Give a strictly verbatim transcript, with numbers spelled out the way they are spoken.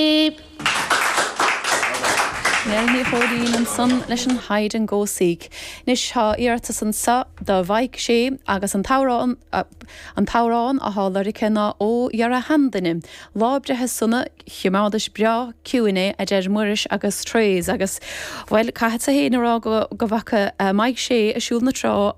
Nell Ní Chóilín ansan leis an Hide and Go Seek. Anois tá iarratas anseo do Mhaidhc Sé agus an t-amhrán an t-amhrán atá lorgtha ná Ó Dhera Sheanduine. Lá breithe sona choimeádais breá ciúin é a deir Muiris agus Therese agus well caithfidh mé féin a rá go go bhfaca Mike Sé ag siúl na trá